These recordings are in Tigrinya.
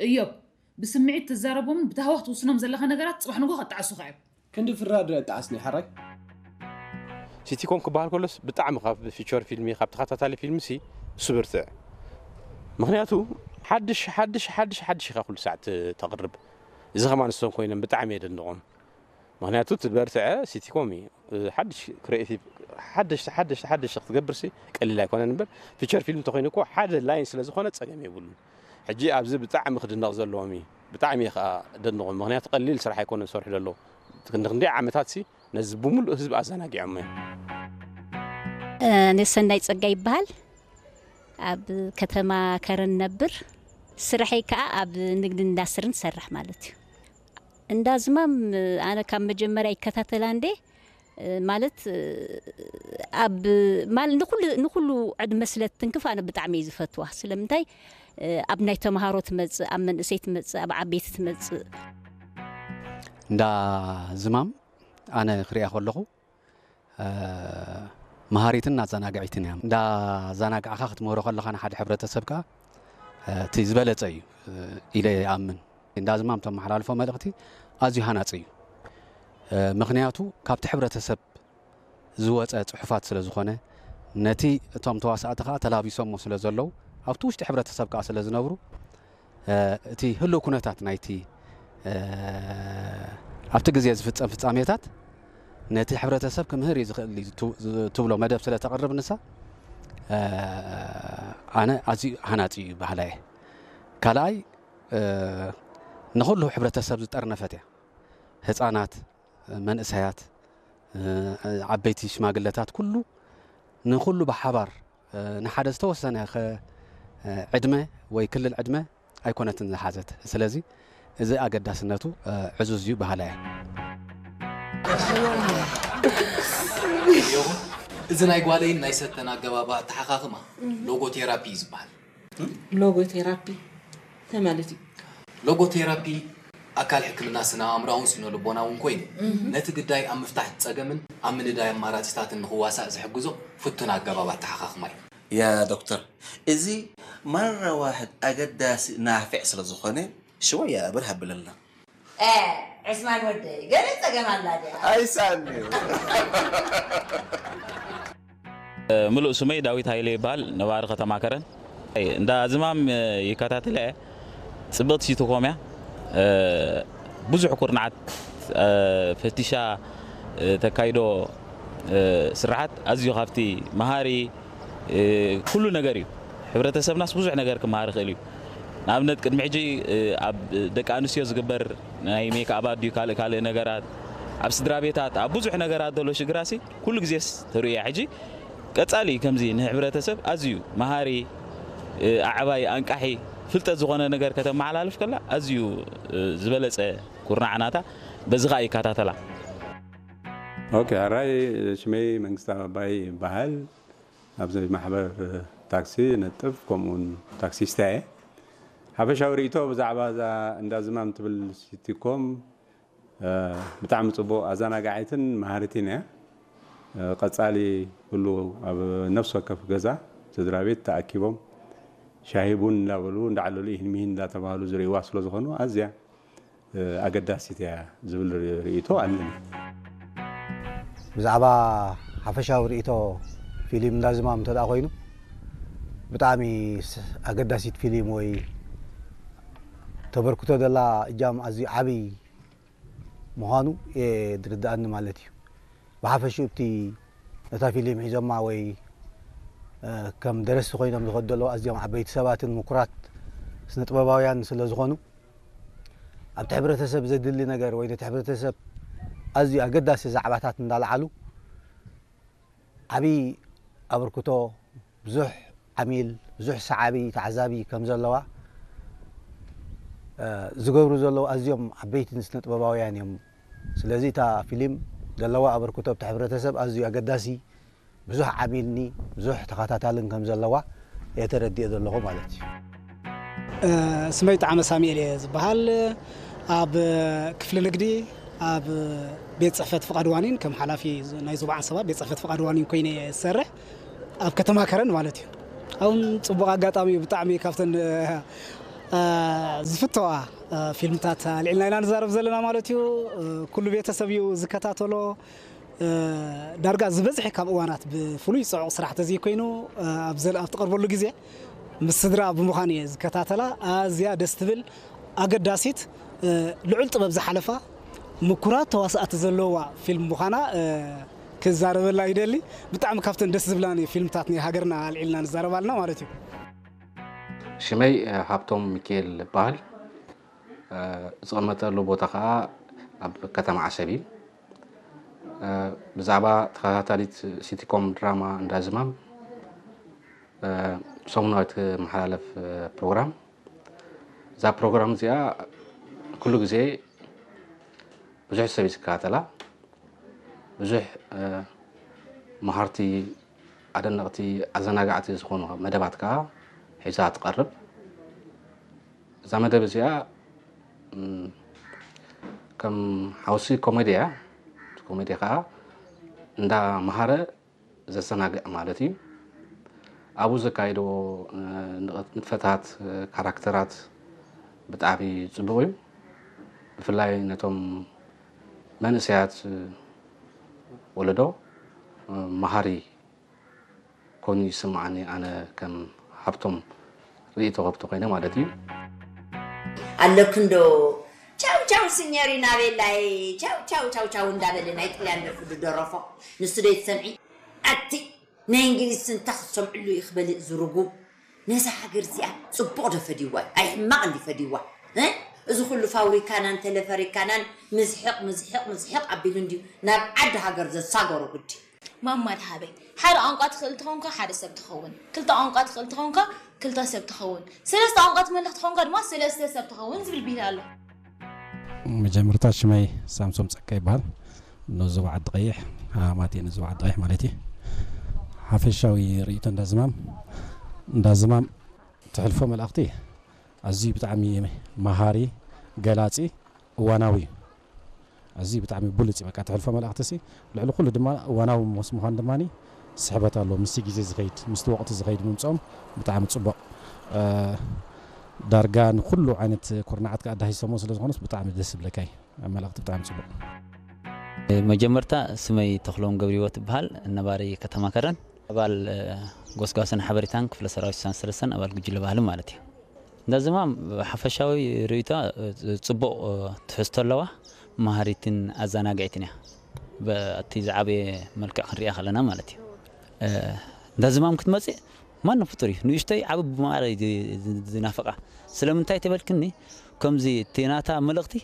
እዮብ፣ ብስምዒት ትዛረቦምን ብታህዋኽ ትውስኖም ዘለኻ ነገራት ጽባሕ ንግሆ ከጣዕሱኻ እዮም። ክንዲ ፍራድ ጣዕስኒ ሓራይ። ሲቲኮም ክበሃል ከሎስ ብጣዕሚ ካብ ፊቸር ፊልሚ ካብ ተኸታታሊ ፊልሚ ሲ እሱ ብርትዕ። ምክንያቱ ሓድሽ ሓድሽ ሓድሽ ሓድሽ ኢኻ ኩሉ ሳዕ ት- ተቕርብ። እዚ ከማን እሶም ኮይኖም ብጣዕሚ የደንቖም። ምክንያቱ ትበርትዐ ሲቲኮም እዩ። ሓድሽ ክሪኤቲቭ ሓደሽቲ ሓደሽቲ ሓደሽቲ ክትገብር ሲ ቀሊል ኣይኮነን እምበር ፊቸር ፊልም እንተኮይኑ እኮ ሓደ ላይን ስለ ዝኾነ ጸገም የብሉን። ሕጂ ኣብዚ ብጣዕሚ ክድነቕ ዘለዎም እዩ። ብጣዕሚ እየ ከዓ ደንቖም። ምክንያቱ ቀሊል ስራሕ ኣይኮነን ዝሰርሑ ዘለዉ። ክንዲ ክንደይ ዓመታት ሲ ነዚ ብምሉእ ህዝቢ ኣዘናጊዖም እዮም። ኣነ ሰናይ ጸጋ ይበሃል። ኣብ ከተማ ከረን ነብር። ስርሐይ ከዓ ኣብ ንግድን ኢንዳስትርን ዝሰርሕ ማለት እዩ። እንዳ ዝማም ኣነ ካብ መጀመርያ ይከታተላ እንዴ ማለት ኣብ ማል ንኩሉ ንኩሉ ዕድመ ስለ ትንክፍ ኣነ ብጣዕሚ እዩ ዝፈትዋ። ስለምንታይ ኣብ ናይ ተምሃሮ ትመጽእ፣ ኣብ መንእሰይ ትመጽእ፣ ኣብ ዓበይቲ ትመጽእ። እንዳ ዝማም ኣነ ክሪኣ ከለኹ መሃሪትን ኣዘናግዒትን እያ። እንዳ ኣዘናጋዕካ ክትምህሮ ከለኻ ንሓደ ሕብረተሰብ ከኣ እቲ ዝበለጸ እዩ ኢለ ይኣምን። እንዳ ዝማም ተመሓላልፎ መልእኽቲ ኣዝዩ ሃናጺ እዩ። ምኽንያቱ ካብቲ ሕብረተሰብ ዝወጸ ጽሑፋት ስለ ዝኾነ ነቲ እቶም ተዋሳእቲ ከኣ ተላቢሶሞ ስለ ዘለዉ ኣብቲ ውሽጢ ሕብረተሰብ ከኣ ስለ ዝነብሩ እቲ ህሉው ኩነታት ናይቲ ኣብቲ ግዜ ዝፍጸም ፍጻሜታት ነቲ ሕብረተሰብ ክምህር እዩ ዝኽእል እዩ ትብሎ መደብ ስለ ተቕርብ ንሳ ኣነ ኣዝዩ ሃናጺ እዩ በሃላይ እየ። ካልኣይ ንኹሉ ሕብረተሰብ ዝጠርነፈት እያ። ህጻናት፣ መንእሰያት፣ ዓበይቲ ሽማግለታት ኩሉ ንኹሉ ብሓባር ንሓደ ዝተወሰነ ዕድመ ወይ ክልል ዕድመ ኣይኮነትን ዝሓዘት። ስለዚ እዚ ኣገዳስነቱ ዕዙዝ እዩ በሃላይ እየ። እዚ ናይ ጓለይን ናይ ሰተን ኣገባብ ኣተሓኻኽማ ሎጎ ቴራፒ እዩ ዝበሃል። ሎጎ ቴራፒ እንታይ ማለት እዩ? ሎጎ ቴራፒ ኣካል ሕክምና ስነ ኣእምራውን ስነ ልቦናውን ኮይኑ ነቲ ግዳይ ኣብ ምፍታሕ ጸገምን ኣብ ምንዳይ ኣማራጺታትን ንኽዋሳእ ዝሕግዞ ፍቱን ኣገባብ ኣተሓኻኽማ እዩ። ያ ዶክተር፣ እዚ ማራ ዋሕድ ኣገዳሲ ናፊዕ ስለ ዝኾነ ሽወያ ብር ሃብለልና። እ ዕስማን ወደይ ገለ ጸገም ኣላ ድያ? ኣይሳኒ። ምሉእ ስመይ ዳዊት ሃይለ ይበሃል። ነባሪ ከተማ ከረን። እንዳ ዝማም ይከታተላ እየ። ጽብቕቲ ሲትኮም እያ። ብዙሕ ኩርናዓት ፈቲሻ ተካይዶ ስራሓት ኣዝዩ ካብቲ መሃሪ ኩሉ ነገር እዩ። ሕብረተሰብናስ ብዙሕ ነገር ክመሃር ይኽእል እዩ። ንኣብነት ቅድሚ ሕጂ ኣብ ደቂ ኣንስትዮ ዝግበር ናይ ሜክኣባት ድዩ ካልእ ካልእ ነገራት ኣብ ስድራ ቤታት ኣብ ብዙሕ ነገራት ዘሎ ሽግራሲ ኩሉ ግዜስ ተርእያ ሕጂ ቀጻሊ ከምዚ ንሕብረተሰብ ኣዝዩ መሃሪ ኣዕባይ ኣንቃሒ ፍልጠት ዝኾነ ነገር ከተመሓላልፍ ከላ ኣዝዩ ዝበለጸ ኩርናዕ ናታ በዚ ኸኣ ይከታተላ። ኦኬ፣ ሕራይ ሽመይ መንግስታብ ኣባይ ይበሃል። ኣብዚ ማሕበር ታክሲ ነጥፍ ከምኡውን ታክሲስታ እየ። ሓፈሻዊ ርእይቶ ብዛዕባ እዛ እንዳ ዝማም ትብል ሲቲኮም ብጣዕሚ ጽቡቕ ኣዘናጋዒትን መሃሪትን እያ። ቀጻሊ ኩሉ ኣብ ነፍሲ ወከፍ ገዛ ስድራ ቤት ተኣኪቦም ሻሂ ቡን እንዳበሉ እንዳዓለሉ ይህን ሚሂን እንዳተባህሉ ዝርእይዋ ስለ ዝኾኑ ኣዝያ ኣገዳሲት እያ ዝብል ርእይቶ ኣለኒ። ብዛዕባ ሓፈሻዊ ርእይቶ ፊልም እንዳዝማም እንተ ደኣ ኮይኑ ብጣዕሚ ኣገዳሲት ፊልም ወይ ተበርክቶ ደላ እጃም ኣዝዩ ዓብይ ምዃኑ እየ ዝርድኣኒ ማለት እዩ። ብሓፈሽኡ እቲ ነታ ፊልም ሒዞማ ወይ ከም ደረስቲ ኮይኖም ዝኸዱ ዘለዉ ኣዝዮም ዓበይቲ ሰባትን ምኩራት ስነ ጥበባውያን ስለ ዝኾኑ ኣብቲ ሕብረተሰብ ዘድሊ ነገር ወይ ነቲ ሕብረተሰብ ኣዝዩ ኣገዳሲ ዛዕባታት እንዳልዓሉ ዓብዪ ኣበርክቶ ብዙሕ ዓሚል ብዙሕ ሰዓቢ ተዓዛቢ ከም ዘለዋ ዝገብሩ ዘለዉ ኣዝዮም ዓበይቲ ስነ ጥበባውያን እዮም። ስለዚ እታ ፊልም ዘለዋ ኣበርክቶ ኣብቲ ሕብረተሰብ ኣዝዩ ኣገዳሲ ብዙሕ ዓሚልኒ ብዙሕ ተኸታታልን ከም ዘለዋ እየ ተረዲኦ ዘለኹ ማለት እዩ። ስመይ ጣዕመ ሳሙኤል እየ ዝበሃል። ኣብ ክፍሊ ንግዲ ኣብ ቤት ፅሕፈት ፍቓድ ዋኒን ከም ሓላፊ ናይ ዞባ ዓንሰባ ቤት ፅሕፈት ፍቓድ ዋኒን ኮይነ እየ ዝሰርሕ ኣብ ከተማ ከረን ማለት እዩ። ኣሁን ፅቡቕ ኣጋጣሚ እዩ ብጣዕሚ ካብተን ዝፍተዋ ፊልምታት ኣልዒልና ኢና ንዛረብ ዘለና ማለት እዩ። ኩሉ ቤተሰብ እዩ ዝከታተሎ። ዳርጋ ዝበዝሐ ካብ እዋናት ብፍሉይ ጽዑቕ ስራሕ ተዘይኮይኑ ኣብ ትቐርበሉ ግዜ ምስ ስድራ ብምዃን እየ ዝከታተላ። ኣዝያ ደስ ትብል፣ ኣገዳሲት፣ ልዑል ጥበብ ዝሓለፋ ምኩራት ተዋሳእቲ ዘለዋ ፊልም ምዃና ክዛረበላ ይደሊ። ብጣዕሚ ካብተን ደስ ዝብላኒ ፊልምታት ናይ ሃገርና ኣልዒልና ንዛረባልና ማለት እዩ። ሽመይ ሃብቶም ሚካኤል እበሃል። ዝቕመጠሉ ቦታ ከዓ ኣብ ከተማ ዓሰብ እዩ። ብዛዕባ ተኸታታሊት ሲቲኮም ድራማ እንዳዝማም ሰሙናዊ ትመሓላለፍ ፕሮግራም። እዛ ፕሮግራም እዚኣ ኩሉ ግዜ ብዙሕ ሰብ እዩ ዝከታተላ። ብዙሕ መሃርቲ፣ ኣደነቕቲ፣ ኣዘናጋዕቲ ዝኾኑ መደባት ከዓ ሒዛ ትቐርብ። እዛ መደብ እዚኣ ከም ሓውሲ ኮሜዲ እያ። ኮሜዲ ከዓ እንዳ መሃረ ዘሰናግዕ ማለት እዩ። ኣብኡ ዘካይድዎ ንጥፈታት፣ ካራክተራት ብጣዕሚ ፅቡቕ እዩ። ብፍላይ ነቶም መንእሰያት ወለዶ መሃሪ ኮይኑ ይስምዓኒ፣ ኣነ ከም ሃብቶም ርእይቶ ከብቲ ኮይነ ማለት እዩ። ኣለክንዶ ቻው ቻው ሲኞሪና ቤላይ ቻው ቻው ቻው ቻው እንዳበለ ናይ ጥልያን ደርፊ ዝደረፎ ንሱ ዶ ይትሰምዒ? ኣቲ ናይ እንግሊዝ ስንታ ክትሰምዕሉ እዩ ክበልእ ዝርጉም። ነዛ ሃገር እዚኣ ፅቡቕ ዶ ፈዲዋ እዩ? ኣይ ሕማቕ እንዲ ፈዲዋ። እ? እዚ ኩሉ ፋብሪካናን ተለፈሪካናን ምዝሕቕ ምዝሕቕ ምዝሕቕ ኣቢሉ እንድዩ ናብ ዓዲ ሃገር ዘሳገሮ ግዲ። ማማ ደሃበይ ሓደ ቋንቋ ትኽእል ተኾንካ ሓደ ሰብ ትኸውን፣ ክልተ ቋንቋ ትኽእል ተኾንካ ክልተ ሰብ ትኸውን፣ ሰለስተ ቋንቋ ትመልኽ ተኾንካ ድማ ሰለስተ ሰብ ትኸውን ዝብል ብሂል ኣሎ። መጀመርታ ሽመይ ሳምሶም ጸጋ ይበሃል። ንዞባ ዓዲ ቀይሕ፣ ሃማማት እየ ንዞባ ዓዲ ቀይሕ ማለት እዩ። ሓፈሻዊ ርእይቶ እንዳዝማም እንዳዝማም ትሕልፎ መልእኽቲ ኣዝዩ ብጣዕሚ መሃሪ፣ ገላጺ፣ እዋናዊ እዩ። ኣዝዩ ብጣዕሚ ብሉጽ እዩ። በቃ ትሕልፎ መልእኽቲ ሲ ልዕሊ ኩሉ ድማ እዋናዊ ምስ ምዃን ድማ ስሕበት ኣለዎ። ምስቲ ግዜ ዝኸይድ ምስቲ ወቕቲ ዝኸይድ ምምፅኦም ብጣዕሚ ፅቡቕ። ዳርጋ ንኩሉ ዓይነት ኩርናዓት ከዓ ኣዳሂሶሞ ስለ ዝኾኑስ ብጣዕሚ ደስ ዝብለካ እዩ። መልእኽቲ ብጣዕሚ ፅቡቕ። መጀመርታ ስመይ ተኽሎም ገብሪዎ ትበሃል ነባሪ ከተማ ከረን ኣባል ጎስጓስን ሓበሬታን ክፍለ ሰራዊት ስሳን ሰለስተን ኣባል ጉጅለ ባህሊ ማለት እዩ። እንዳ ዝማም ሓፈሻዊ ርእይቶ ፅቡቕ ትሕዝቶ ኣለዋ፣ መሃሪትን ኣዘናግዒትን እያ። በቲ ዝዓበየ መልክዕ ክንሪኣ ከለና ማለት እዩ። እንዳ ዝማም ክትመፅእ ማንም ፍጡር እዩ ንእሽተይ ዓቢ ብማዕረ እዩ ዝናፍቓ። ስለምንታይ ተበልክኒ ከምዚ እቲ ናታ መልእኽቲ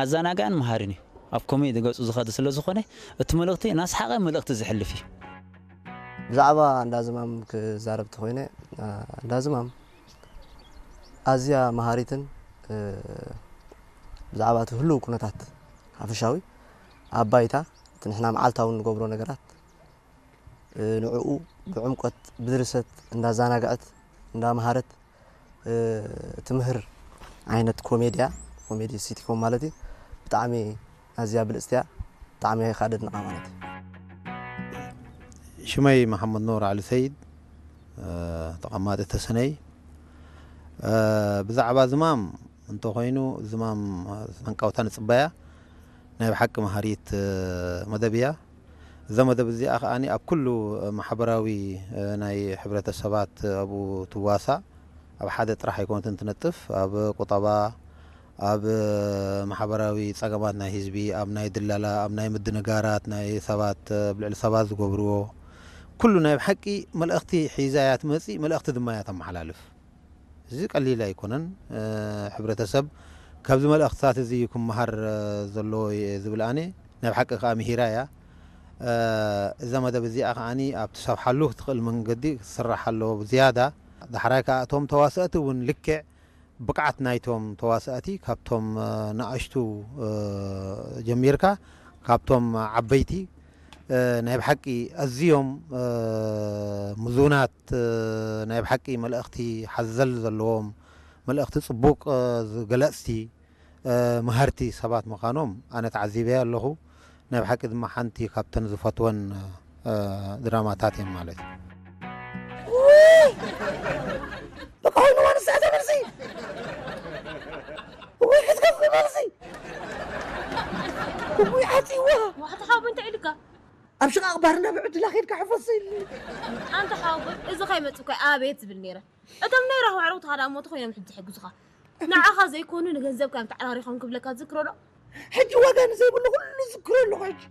ኣዘናጋዕን መሃርን እዩ። ኣብ ኮሜዲ ገፁ ዝኸድ ስለ ዝኾነ እቲ መልእኽቲ እናስሓቐ መልእኽቲ ዝሕልፍ እዩ። ብዛዕባ እንዳዝማም ክዛረብ ተኾይነ እንዳዝማም ኣዝያ መሃሪትን ብዛዕባ እቲ ህልው ኩነታት ሓፈሻዊ ኣብ ባይታ እቲ ንሕና መዓልታዊ ንገብሮ ነገራት ንዕኡ ብዕምቆት ብድርሰት እንዳዛናግዐት እንዳመሃረት ትምህር ዓይነት ኮሜድያ ኮሜዲ ሲቲኮም ማለት እዩ። ብጣዕሚ ኣዝያ ብልፅቲ እያ። ብጣዕሚ እየ ከዓ ደድንቓ ማለት እዩ። ሽመይ መሓመድ ኖር ዓሊ ሰይድ ተቐማጢ ተሰነይ። ብዛዕባ ዝማም እንተኾይኑ ዝማም ሃንቃውታ ንፅበያ ናይ ብሓቂ መሃሪት መደብ እያ። እዛ መደብ እዚኣ ከኣ ኣብ ኩሉ ማሕበራዊ ናይ ሕብረተሰባት ኣብኡ ትዋሳእ። ኣብ ሓደ ጥራሕ ኣይኮነትን ትነጥፍ፣ ኣብ ቁጠባ፣ ኣብ ማሕበራዊ ጸገማት ናይ ህዝቢ፣ ኣብ ናይ ድለላ፣ ኣብ ናይ ምድንጋራት ናይ ሰባት ኣብ ልዕሊ ሰባት ዝገብርዎ ኩሉ ናይ ብሓቂ መልእኽቲ ሒዛ እያ ትመጽእ፣ መልእኽቲ ድማ እያ ተመሓላልፍ። እዚ ቀሊል ኣይኮነን። ሕብረተሰብ ካብዚ መልእኽትታት እዚ ክመሃር ዘለዎ እየ ዝብል ኣነ ናይ ብሓቂ ከዓ ምሂራ እያ። እዛ መደብ እዚኣ ከዓ ኣብ ትሰፍሓሉ ትኽእል መንገዲ ክትስራሕ ኣለዎ ብዝያዳ። ዳሕራይ ከዓ እቶም ተዋሰእቲ እውን ልክዕ ብቕዓት ናይቶም ተዋሰእቲ ካብቶም ንኣሽቱ ጀሚርካ ካብቶም ዓበይቲ ናይ ብሓቂ ኣዝዮም ምዙናት ናይ ብሓቂ መልእኽቲ ሓዘል ዘለዎም መልእኽቲ ፅቡቕ ዝገለፅቲ መሃርቲ ሰባት ምዃኖም ኣነ ተዓዚበ ኣለኹ። ናይ ብሓቂ ድማ ሓንቲ ካብተን ዝፈትወን ድራማታት እየን ማለት እዩ። በቃ ኮይኑ ዋንሳ ተበርሲ ኣብ ሽቓቕ ባርና ብዕድላ ኬድካ ሕፈስ ኢልኒ። ኣንታ ሓወቦይ፣ እዚ ከይመጽእ እኮ ኣቤት ዝብል ነይረ። እቶም ናይ ራህዋ ኣዕሩኽትኻ ደኣ እሞ ተኾይኖም ሕጂ ዝሕግዙኻ። ንዓኻ ዘይኮኑ ንገንዘብካ እዮም ተዓራሪኾም ክብለካ ትዝክሮ ዶ? ሕጂ ዋጋ ንዘይብሉ ኩሉ ዝክሮ ኣለኹ ሕጂ።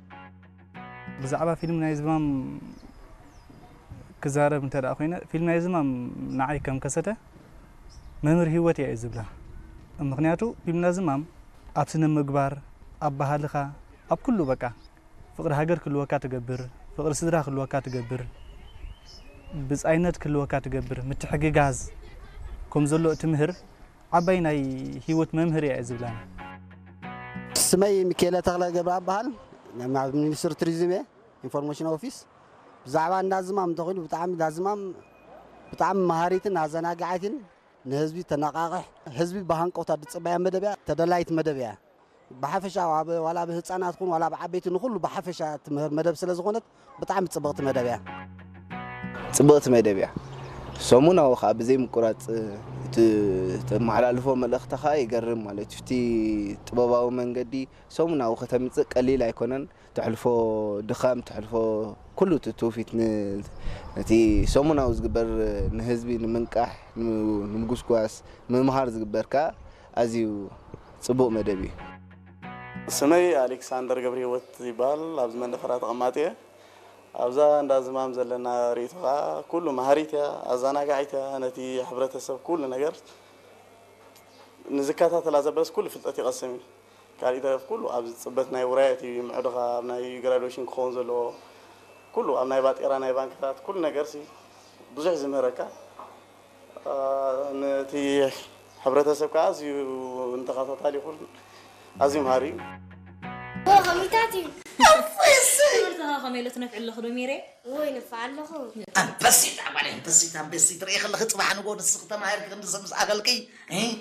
ብዛዕባ ፊልም ናይ ዝማም ክዛረብ እንተ ደኣ ኮይነ፣ ፊልም ናይ ዝማም ንዓይ ከም ከሰተ መምህር ህይወት እያ እየ ዝብላ። ምኽንያቱ ፊልም ናይ ዝማም ኣብ ስነ ምግባር፣ ኣብ ባህልኻ፣ ኣብ ኩሉ በቃ ፍቕሪ ሃገር ክህልወካ ትገብር፣ ፍቕሪ ስድራ ክህልወካ ትገብር፣ ብጻይነት ክህልወካ ትገብር፣ ምትሕግጋዝ ከም ዘሎ እትምህር ዓባይ ናይ ህይወት መምህር እያ እየ ዝብላን። ስመይ ሚካኤለ ተኽለ ገብረኣብ በሃል። ኣብ ሚኒስትሪ ቱሪዝም እየ፣ ኢንፎርሜሽን ኦፊስ። ብዛዕባ እንዳ ዝማም እንተኾይኑ ብጣዕሚ እንዳ ዝማም ብጣዕሚ መሃሪትን ኣዘናጋዓይትን ንህዝቢ ተነቃቕሕ ህዝቢ ብሃንቀውታ ዝፅበያ መደብ እያ። ተደላይት መደብ እያ። ብሓፈሻ ኣብ ዋላ ብህፃናት ኹን ዋላ ብዓበይቲ ንኹሉ ብሓፈሻ ትምህር መደብ ስለ ዝኾነት ብጣዕሚ ፅብቕቲ መደብ እያ። ፅብቕቲ መደብ እያ። ሰሙናዊ ከዓ ብዘይ ምቁራፅ እቲ ተመሓላልፎ መልእኽቲ ከዓ ይገርም ማለት እዩ። እቲ ጥበባዊ መንገዲ ሰሙናዊ ከተምፅእ ቀሊል ኣይኮነን። ተሕልፎ ድኻም ተሕልፎ ኩሉ እቲ ትውፊት ን- ነቲ ሰሙናዊ ዝግበር ንህዝቢ ንምንቃሕ ን- ንምጉስጓስ ምምሃር ዝግበር ከዓ ኣዝዩ ፅቡቕ መደብ እዩ። ስመይ ኣሌክሳንደር ገብረህይወት ይበሃል። ኣብዚ መንደፈራ ተቐማጢ እየ። ኣብዛ እንዳ ዝማም ዘለና ርእይቶ ከዓ ኩሉ መሃሪት እያ፣ ኣዘናጋዒት እያ። ነቲ ሕብረተሰብ ኩሉ ነገር ንዝከታተላ ዘበለስ ኩሉ ፍልጠት ይቐስም እዩ። ካልእ ይተረፍ ኩሉ ኣብዚ ፅበት ናይ ውራያት እዩ፣ ምዕዶኻ ኣብ ናይ ግራዱዌሽን ክኸውን ዘለዎ ኩሉ ኣብ ናይ ባጤራ ናይ ባንክታት ኩሉ ነገር ሲ ብዙሕ ዝምህረካ ነቲ ሕብረተሰብ ከዓ ኣዝዩ ንተኸታታሊ ይኹን ኣዝዩ መሃሪ እዩ። ከሚታት እዩ። ትምህርትኻ ከመይ ኢሉ ትነፍዕ ኣለኹ ዶ ሜሬ? ወይ ነፋዕ ኣለኹ። ኣንበሲት ኣባለይ ኣንበሲት ኣንበሲት ርኤ ከለኺ ፅባሕ ንጎ ንስኺ ተማሂርኪ ክንዲ ሰብ ምስ ኣኸልኪ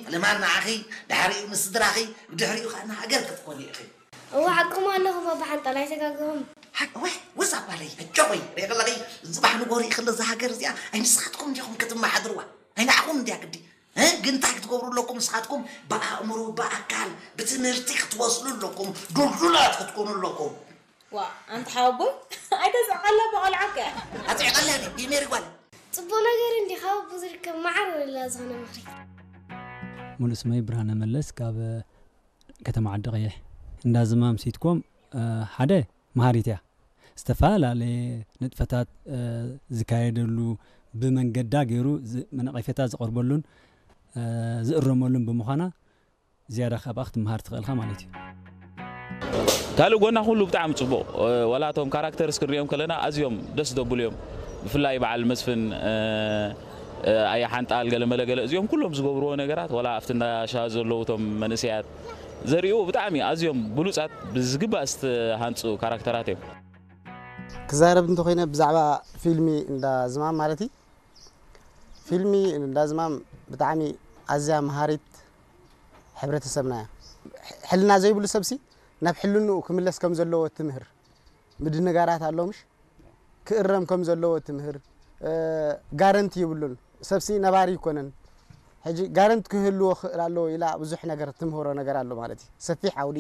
ፈለማ ንዓኺ ድሕሪኡ ንስድራኺ ብድሕሪኡ ከዓ ንሃገር ክትኮኒ ኢኺ። እዋ ሓቅኹም ኣለኹም ኣባ ሓንጣል ኣይተጋገኹም። ሓቂ ወይ ወዛ ጓለይ ኣጆኺ ሪኢ ከለኺ ጽባሕ ንጎ ሪኢ ከሎ እዛ ሃገር እዚኣ ኣይ ንስኻትኩም እንዲኹም ክትመሓድርዋ ኣይ ንዓኹም እንድያ ግዲ እ ግን እንታይ ክትገብሩ ኣለኩም ንስኻትኩም ብኣእምሮ ብኣካል ብትምህርቲ ክትበስሉ ኣለኩም ዱልዱላት ክትኮኑ ኣለኩም። ዋ ኣንታ ሓወቦይ ኣይተስዕቐላ ብቆልዓከ። ኣጽዕቐላ ድዩ ሜሪ ጓል? ጽቡቕ ነገር እንዲ ካብ ኣቦ ዝርከብ መዓር ወለላ ዝኾነ ምኽሪ። ሙሉእ ስመይ ብርሃነ መለስ ካብ ከተማ ዓዲ ቀይሕ። እንዳ ዝማም ሲትኮም ሓደ መሃሪት እያ። ዝተፈላለየ ንጥፈታት ዝካየደሉ ብመንገዳ ገይሩ ነቐፌታ ዝቐርበሉን ዝእረመሉን ብምዃና ዝያዳ ካብኣ ክትመሃር ትኽእልኻ ማለት እዩ። ካልእ ጎና ኩሉ ብጣዕሚ ጽቡቕ ዋላ እቶም ካራክተርስ ክንሪኦም ከለና ኣዝዮም ደስ ዘብሉ እዮም። ብፍላይ በዓል መስፍን ኣያ ሓንጣል ገለ መለ ገለ እዚኦም ኩሎም ዝገብርዎ ነገራት ዋላ ኣብቲ እንዳ ሻሂ ዘለዉ እቶም መንእሰያት ዘርእይዎ ብጣዕሚ ኣዝዮም ብሉጻት ብዝግባእ ዝተሃንጹ ካራክተራት እዮም። ክዛረብ እንተኾይነ ብዛዕባ ፊልሚ እንዳ ዝማም ማለት እዩ። ፊልሚ እንዳ ዝማም ብጣዕሚ ኣዝያ መሃሪት ሕብረተሰብና እያ። ሕልና ዘይብሉ ሰብሲ ናብ ሕልንኡ ክምለስ ከም ዘለዎ ትምህር ምድንጋራት ኣሎ ምሽ ክእረም ከም ዘለዎ ትምህር ጋረንቲ ይብሉን። ሰብሲ ነባሪ ይኮነን። ሕጂ ጋረንት ክህልዎ ክእል ኣለዎ ኢላ ብዙሕ ነገር ትምህሮ ነገር ኣሎ ማለት እዩ። ሰፊሕ ዓውዲ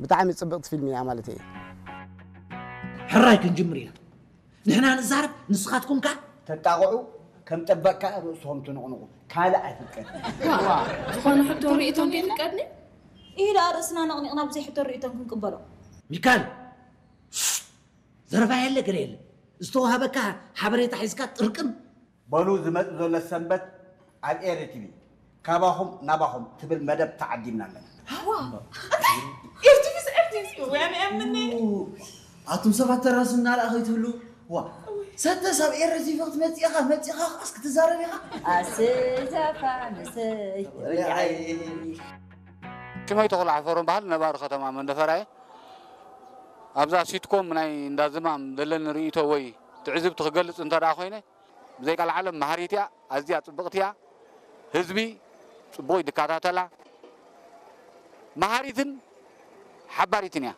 ብጣዕሚ ጽብቕቲ ፊልም እያ ማለት እየ። ሕራይ ክንጅምር ኢና። ንሕና ንዛረብ ንስኻትኩም ከ ተጣቕዑ ከም ጠበቅ ከ ርእስኹም ትንቕንቑ ካልእ ኣይፍቀድ። ዝኾነ ሕቶ ርእይቶ እንደ ይፍቀድኒ? ኢሂ ደኣ ርእስና ነቕኒቕና ብዘይ ሕቶ ርእይቶን ክንቅበሎ። ሚካል ዘረባ የለ ገለ የለ ዝተዋሃበካ ሓበሬታ ሒዝካ ጥርቅም። በሉ ዝመጽእ ዘሎ ሰንበት ኣብ ኤሪ ቲቪ ካባኹም ናባኹም ትብል መደብ ተዓዲምና ኣለና። ኤርቲቪስ ኤርቲቪስ ወያነ እምኒ ኣቱም ሰባት ተራሱ እናረኣ ከይትህሉ ዋ ሰተስ ኣብ ኤሪ ቲቪ ክትመጽእ ኢኻ መጺኻ ኣስ ክትዛረብ ኢኻ ኣስዛፋ ምስይ ሽመይ ተኽሉ ሓፈሮም በሃል ነባሪ ከተማ መንደፈራ እየ። ኣብዛ ሲትኮም ናይ እንዳ ዝማም ዘለኒ ርእይቶ ወይ ትዕዝብቲ ክገልጽ እንተ ደኣ ኮይነ ብዘይ ቃል ዓለም መሃሪት እያ፣ ኣዝያ ጽብቕቲ እያ። ህዝቢ ጽቡቕ እዩ ዝከታተላ። መሃሪትን ሓባሪትን እያ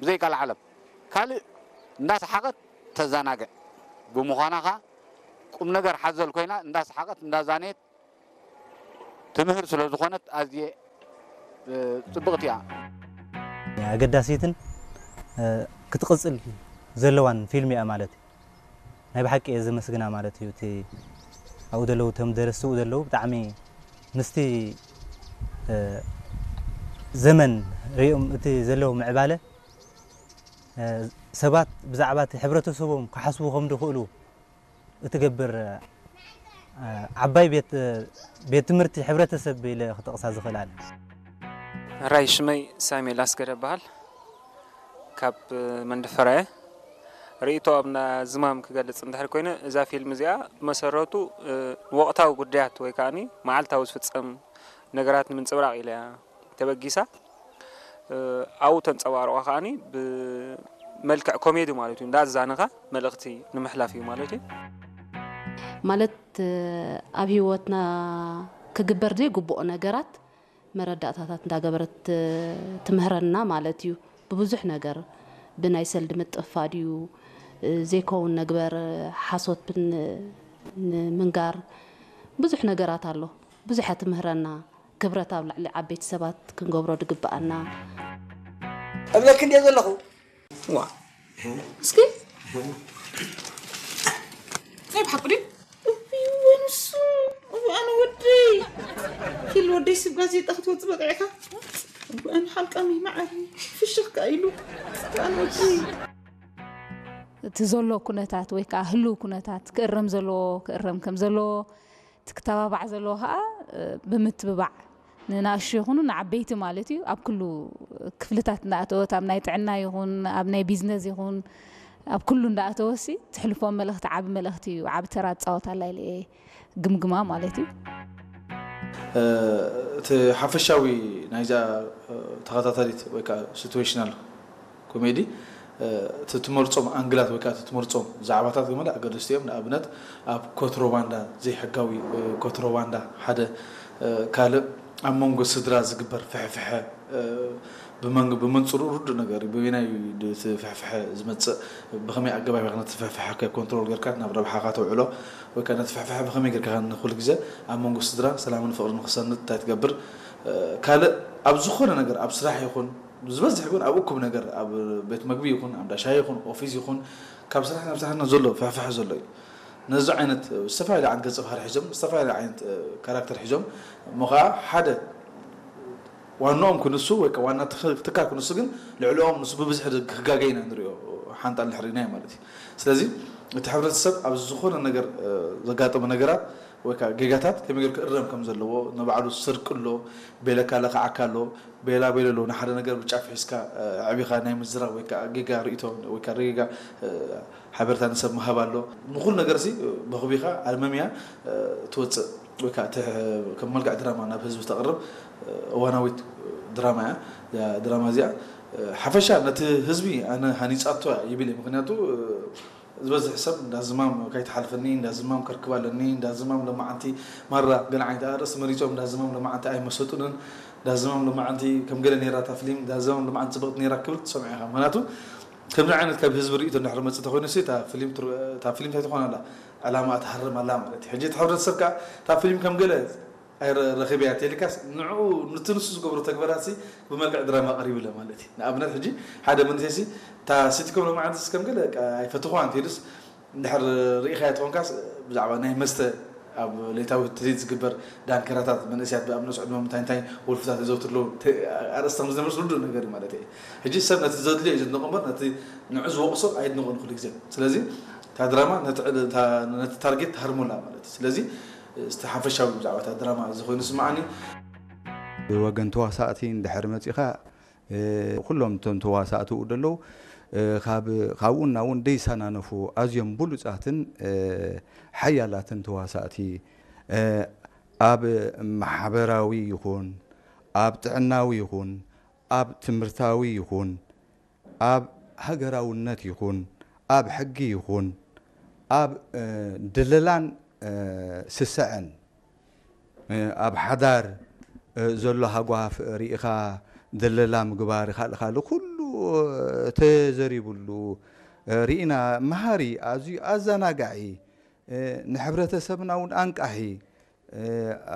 ብዘይ ቃል ዓለም። ካልእ እንዳ ሰሓቐት ተዘናግዕ ብምዃና ኸኣ ቁም ነገር ሓዘል ኮይና እንዳ ሰሓቐት እንዳ ዛነየት ትምህር ስለ ዝኾነት ኣዝየ ጽብቕቲ እያ። ኣገዳሲትን ክትቕጽል ዘለዋን ፊልም እያ ማለት እዩ። ናይ ብሓቂ እየ ዘመስግና ማለት እዩ። እቲ ኣብኡ ዘለዉ እቶም ደረስቲ ዘለዉ ብጣዕሚ ምስቲ ዘመን ሪኦም እቲ ዘለዉ ምዕባለ ሰባት ብዛዕባ እቲ ሕብረተሰቦም ክሓስቡ ከም ዝኽእሉ እትገብር ዓባይ ቤት ትምህርቲ ሕብረተሰብ ኢለ ክጠቕሳ ዝኽእል ኣነ። ሕራይ ሽመይ ሳሙኤል ኣስገደ እበሃል። ካብ መንደፈራ እየ። ርእይቶ ኣብ ዝማም ክገልጽ እንድሕር ኮይነ እዛ ፊልም እዚኣ ብመሰረቱ ንወቕታዊ ጉዳያት ወይ ከዓኒ መዓልታዊ ዝፍጸም ነገራት ንምንጽብራቕ ኢለ እያ ተበጊሳ። ኣብኡ ተንጸባርቖ ከዓኒ ብመልክዕ ኮሜዲ ማለት እዩ እንዳዛነኻ መልእኽቲ ንምሕላፍ እዩ ማለት እዩ። ማለት ኣብ ህይወትና ክግበር ዘይግብኦ ነገራት መረዳእታታት እንዳገበረት ትምህረና ማለት እዩ። ብብዙሕ ነገር ብናይ ሰልዲ ምጥፋ ድዩ ዘይከውን ነግበር ሓሶት ንምንጋር ብዙሕ ነገራት ኣሎ። ብዙሕ ትምህረና። ክብረት ኣብ ልዕሊ ዓበይቲ ሰባት ክንገብሮ ድግብኣና። እብለኪ እንድየ ዘለኹ። ዋ እስኪ ናይ ብሓቂ ድዩ? እወ ንሱ እወ ኣነ ወደይ ኪል ወደይ ስብ ጋዜጣ ክትወፅ በቂዕካ እወ ኣነ ሓልቃሚ መዓሪ ፍሽኽ ከኣ ኢሉ እወ ኣነ ወደይ እቲ ዘሎ ኩነታት ወይ ከዓ ህልው ኩነታት ክእረም ዘለዎ ክእረም ከም ዘለዎ እቲ ክተባባዕ ዘለዎ ከዓ ብምትብባዕ ንናእሹ ይኹኑ ንዓበይቲ ማለት እዩ ኣብ ኩሉ ክፍልታት እንዳኣተወት ኣብ ናይ ጥዕና ይኹን ኣብ ናይ ቢዝነስ ይኹን ኣብ ኩሉ እንዳኣተወሲ ትሕልፎ መልእኽቲ ዓቢ መልእኽቲ እዩ ዓቢ ተራ ትፃወት ኣላ ኢለ እየ ግምግማ ማለት እዩ። እቲ ሓፈሻዊ ናይዛ ተኸታታሊት ወይ ከዓ ሲትዌሽናል ኮሜዲ እቲ ትመርፆም ኣንግላት ወይ ከዓ እቲ ትመርፆም ዛዕባታት ገመለ ኣገደስቲ እዮም። ንኣብነት ኣብ ኮትሮባንዳ ዘይሕጋዊ ኮትሮባንዳ ሓደ ካልእ ኣብ መንጎ ስድራ ዝግበር ፍሕፍሐ ብመንጽሩ ርዱእ ነገር እዩ። በበይናይ እዩ እቲ ፍሕፍሐ ዝመፅእ? ብኸመይ ኣገባብ ኢኻ ነቲ ፍሕፍሐ ኮንትሮል ጌርካ ናብ ረብሓኻ ተውዕሎ? ወይ ከዓ ነቲ ፍሕፍሐ ብኸመይ ጌርካ ንኹሉ ግዜ ኣብ መንጎ ስድራ ሰላምን ፍቕርን ክሰንድ እንታይ ትገብር? ካልእ ኣብ ዝኾነ ነገር ኣብ ስራሕ ይኹን ዝበዝሕ ግን ኣብ እኩብ ነገር ኣብ ቤት መግቢ ይኹን ኣብ ዳሻይ ይኹን ኦፊስ ይኹን ካብ ስራሕ ናብ ስራሕ ዘሎ ፍሕፍሐ ዘሎ እዩ። ነዚ ዓይነት ዝተፈላለዩ ዓይነት ገፀ ባህሪ ሒዞም ዝተፈላለዩ ዓይነት ካራክተር ሒዞም እሞ ከዓ ሓደ ዋናኦም ክንሱ ወይ ዋና ትካል ክንሱ ግን ልዕልኦም ንሱ ብብዝሒ ክጋገ ኢና ንሪኦ ሓንጣል ንሕርኢናዮ ማለት እዩ። ስለዚ እቲ ሕብረተሰብ ኣብ ዝኾነ ነገር ዘጋጠሙ ነገራት ወይ ከዓ ጌጋታት ከመይ ገይሩ ክእረም ከም ዘለዎ ንባዕሉ ስርቂ ኣሎ ቤለካ ለኽዓካ ኣሎ ቤላ ቤሎ ኣሎ ንሓደ ነገር ብጫፍ ሒዝካ ኣዕቢኻ ናይ ምዝራብ ወይ ከዓ ጌጋ ርእይቶ ወይ ከዓ ጌጋ ሓበሬታ ንሰብ ምሃብ ኣሎ። ንኹሉ ነገር ሲ በኽቢኻ ኣልመምያ ትወፅእ ወይ ከዓ ከም መልክዕ ድራማ ናብ ህዝቢ ተቕርብ እዋናዊት ድራማ እያ። ድራማ እዚኣ ሓፈሻ ነቲ ህዝቢ ኣነ ሃኒፃቶ ይብል እየ። ምክንያቱ ዝበዝሕ ሰብ እንዳ ዝማም ከይትሓልፈኒ እንዳ ዝማም ከርክብ ኣለኒ እንዳ ዝማም ለማዓንቲ ማራ ገለ ዓይነት ኣርእስቲ መሪፆም እንዳ ዝማም ለማዓንቲ ኣይመሰጡንን እንዳ ዝማም ለማዓንቲ ከም ገለ ነይራ እታ ፍሊም እንዳ ዝማም ለማዓንቲ ፅብቕቲ ነይራ ክብል ትሰምዖ ኢኻ። ምክንያቱ ከምዚ ዓይነት ካብ ህዝቢ ርእቶ እንድሕር መፅእ ተኮይኑ ሲ እታ ፍሊም እንታይ ትኾን ኣላ ዕላማ ትሃርም ኣላ ማለት እዩ። ሕጂ እቲ ሕብረተሰብ ከዓ እታ ፍሊም ከም ገለ ኣይረኺበያ ቴሊካስ ንዕኡ ንቲ ንሱ ዝገብሮ ተግበራት ሲ ብመልክዕ ድራማ ቀሪብለ ማለት እዩ። ንኣብነት ሕጂ ሓደ መንእሰይ ሲ እታ ሲትኮም ሎማዓንቲ ሲ ከም ገለ ኣይፈትኹዋ እንተኢሉስ እንድሕር ርኢኻያ ተኾንካስ ብዛዕባ ናይ መስተ ኣብ ሌታዊ ትሪት ዝግበር ዳንከራታት መንእሰያት ብኣብ ነሱ ዕድመ እንታይ እንታይ ወልፍታት የዘውትር ኣለዉ ኣርእስቲ ከም ዝነብርስ ርዱእ ነገር እዩ ማለት እዩ። ሕጂ ሰብ ነቲ ዘድልዮ እዩ ዝድንቆ እምበር ነቲ ንዑ ዝወቕሶ ኣይድንቆን ኩሉ ግዜ። ስለዚ እታ ድራማ ነቲ ታርጌት ትሃርሞላ ማለት እዩ። ስለዚ እቲ ሓፈሻዊ ብዛዕባ እታ ድራማ እዚ ኮይኑ ስምዓኒ። ብወገን ተዋሳእቲ እንድሕር መፂኻ ኩሎም እቶም ተዋሳእቲ ኡ ደለዉ ካብኡ እናውን ደይሳናነፉ ኣዝዮም ብሉፃትን ሓያላትን ተዋሳእቲ ኣብ ማሕበራዊ ይኹን ኣብ ጥዕናዊ ይኹን ኣብ ትምህርታዊ ይኹን ኣብ ሃገራውነት ይኹን ኣብ ሕጊ ይኹን ኣብ ድለላን ስስዐን ኣብ ሓዳር ዘሎ ሃጓፍ ርኢኻ ድለላ ምግባር ካልእ ካልእ ኩሉ ተዘሪብሉ ርኢና። መሃሪ፣ ኣዝዩ ኣዘናጋዒ፣ ንሕብረተሰብና እውን ኣንቃሒ፣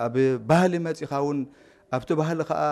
ኣብ ባህሊ መጺኻ እውን ኣብቲ ባህሊ ከኣ